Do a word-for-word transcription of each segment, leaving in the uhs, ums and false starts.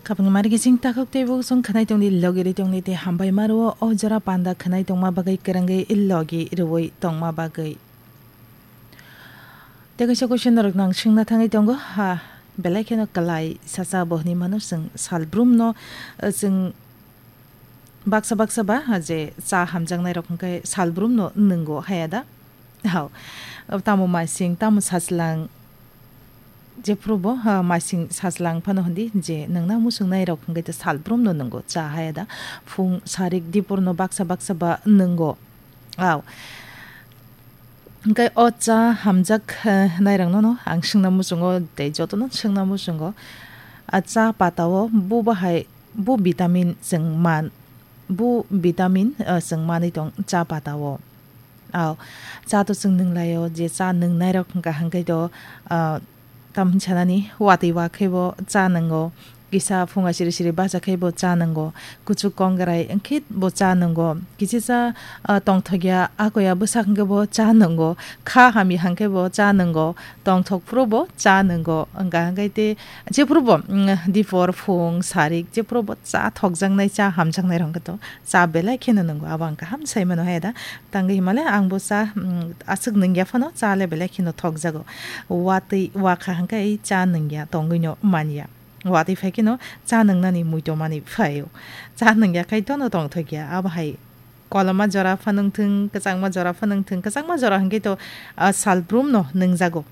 Khapangni mari kising takhuk tei bukhuk song khwnai tongdi, logi ri tongdi tei hambai maro o jora panda khwnai tongma bagwi kwrwngwi logi rwui tongma bagwi. Tei kaisa question norok nang swngna thangwi tongo, ha, belai kheno kwlai sacha bo hwnwi mano chwng salbrum no, eh, chwng baksa baksa ba, ha, je cha hamjaknai rok hwnkhe salbrum no nwngo haya da? Hao, tamo masing, tamo sajlang, jephuru bo, ha, masing sajlang phano hwndi je nwngna muchungnai rok hwnkhe salbrum no nwngo cha haya da? Phung sarik dipor no baksa baksa ba nwngo. Hao. Hwnkhe o cha hamjak, eh, nairokno no ang swngna muchungo tei jotono swngna muchungo. A cha patao bu bahai, bu vitamin chwng man, bu vitamin, eh, chwng manwi tong cha patao. Ao, cha to chwng nwnglaio, je cha nwngnairok hwnkha hwnkhe to, ah, Tamni sanani watwi wa khe bo cha nwngo, kisa phunga siri siri bacha khe bo cha nwngo, kuchuk kongrai wngkhe bo cha nwngo, kichisa, ah, tongthokya akoya bwsak hwnkhe bo cha nwngo, kha hamya hwnkhe bo cha nwngo, tongthok phuru bo cha nwngo, wngkha hwnkhe tei jephuru bo, mm, dipor phung sarik jephuru bo cha thokjaknai, cha hamjaknai rok hwnkhe to cha belai kheno nwngo, abo ang kaham sai mano hai da. Tangwi himale ang bo cha, mm, aswk nungya phano cha le belai kheno thokjago. Watwi wakha hwnkhe cha nungya tongwino manya. Watwi phai kheno cha nungnani muitomani phaio. Cha nungya khai tono tongthokya. Abo hai koloma jora phanwng thung, kwchangma jora phanwng thung, kwchangma jora hwnkhe to, ah, salbrum no nungjago.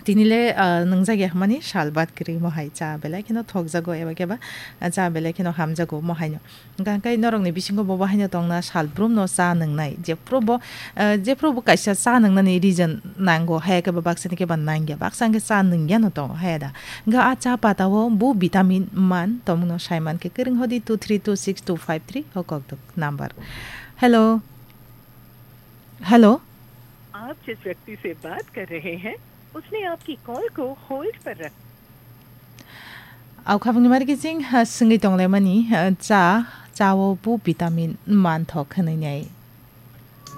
Tini le, ah, nungjak ya hwnmani sal bad kwrwi mo hai cha belai kheno thokjago eba khe ba, ah, cha belai kheno hamjago mo haino. Hwnkha hwnkhe norokni bisingo bo bo haino tongna salbrum no cha nungnai. Jephuru bo, ah, jephuru bo kaisa cha nungnani reason nango, haya khe ba baksa ni khe ba nangya, baksa hwnkhe cha nungya no tongo, haya da. Hwnkha a cha patao bu vitamin man, tomungno saiman khe kwrwng hodi two three two six two five three o kokdok number. Hello. Hello. आप जिस व्यक्ति से बात कर रहे हैं, उसने आपकी कॉल को होल्ड पर रखा। Au khabangni mari kiching, ha, swngwi tonglaimani, ha, cha, chao bu vitamin manthok hwnwi nai.